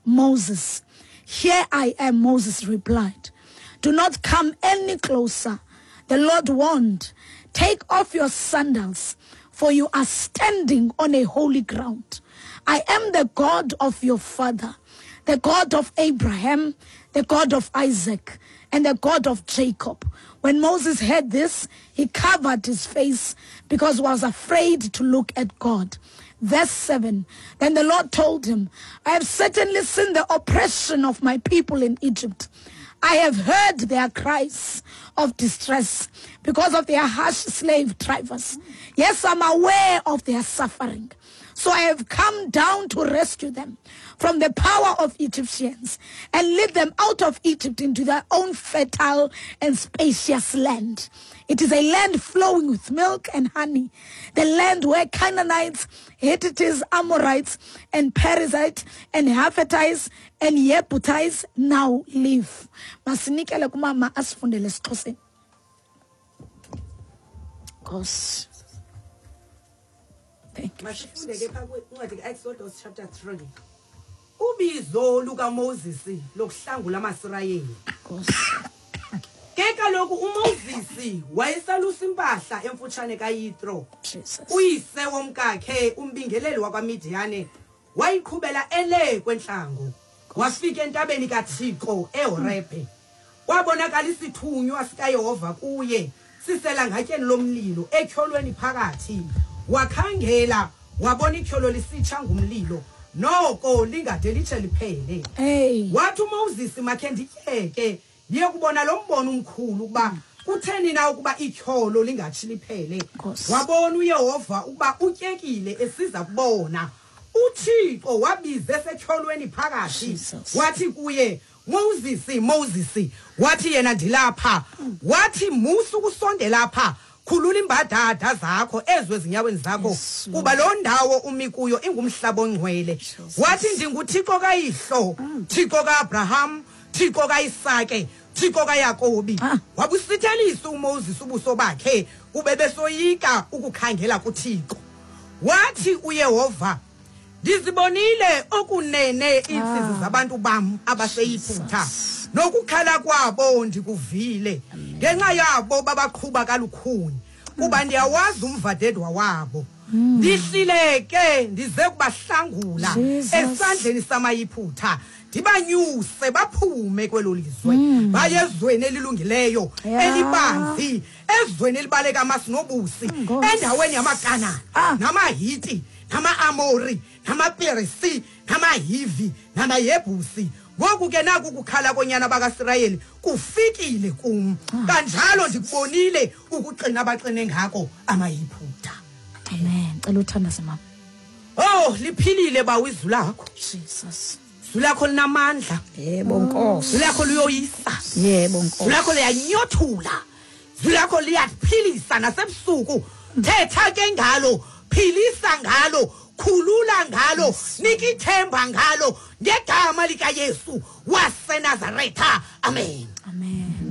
Moses. Here I am, Moses replied. Do not come any closer. The Lord warned, Take off your sandals, for you are standing on a holy ground. I am the God of your father, the God of Abraham, the God of Isaac, and the God of Jacob. When Moses heard this, he covered his face because he was afraid to look at God. Verse 7 Then the Lord told him, I have certainly seen the oppression of my people in Egypt. I have heard their cries of distress because of their harsh slave drivers. Yes, I'm aware of their suffering. So I have come down to rescue them from the power of Egyptians and lead them out of Egypt into their own fertile and spacious land. It is a land flowing with milk and honey, the land where Canaanites, Hittites, Amorites, and Perizzites, and Japhethites, and Jebusites now live. Masinikele kumama asifundele esiXhoseni. Nkosi. Thank you. Masifunde ke phaa kwincwadi kaExodus chapter 3. Ubizo lukaMoses lokuhlangula amaSirayeli. Nkosi. Ke kaloku uMoses wayesalusa impahla emfutshane kaYitro. Jesus. Uyise womkakhe umbingeleli wakwaMidiyane wayiqhubela ele kwentlango. Wafika entabeni kaThixo eHorebhe. Kwabonakala isithunywa sikaYehova kuye siselangatyeni lomlilo etyholweni phakathi. Wakhangela wabona ityholo lisitsha ngumlilo noko lingade litshe liphele. Hey. Wathi uMoses makhe ndityeke ndiye kubona lo mbono umkhulu ukuba kutheni na ukuba ityholo lingatshi liphele. Nkosi. Wabona uYehova ukuba utyekile esiza kubona. UThixo wabiza esetyholweni phakathi Jesus. wathi kuye Moses Moses wathi yena ndilapha wathi musa ukusondela apha khulula imbadada zakho ezwe ezinyaweni zakho Yes, Lord. kuba loo ndawo umi kuyo ingumhlaba ongcwele Jesus. wathi ndinguthixo kayihlo thixo ka-abraham thixo kaisake thixo kayakobi Ah. wabusithelisa umoses ubuso bakhe kube besoyika ukukhangela kuthixo wathi uyehova ndizibonile okunene iintsizi Ah. zabantu bam abaseyiphutha Jesus. nokukhala kwabo ndikuvile ngenxa yabo babaqhuba kalukhuni kuba ndiyawazi umvadedwa wabo ndihlile ke ndize kubahlangula Jesus. esandleni samayiphutha ndibanyuse baphume kwelo lizwe baye ezweni elilungileyo Ya. elibanzi ezweni elibaleka amasi nobusi Nkosi. endaweni yamakanana Ah. namahiti nama-amori namaperisi namahivi namayebhusi ngoku ke naku kukhala konyana bakasirayeli kufikile kum kanjalo ndikubonile ukuqina abaxine ngako amayiphutha Amen. Cela uthandaze mama. oh liphilile bawo izwi lakho Jesus. izwi lakho linamandla Yebo Nkosi. izwi lakho liyoyisa Yebo izwi Nkosi. lakho liyanyothula izwi lakho liyaphilisa nasebusuku thetha ke ngalo philisa ngalo khulula ngalo nika ithemba ngalo ngegama likayesu wasenazaretha amen Amen.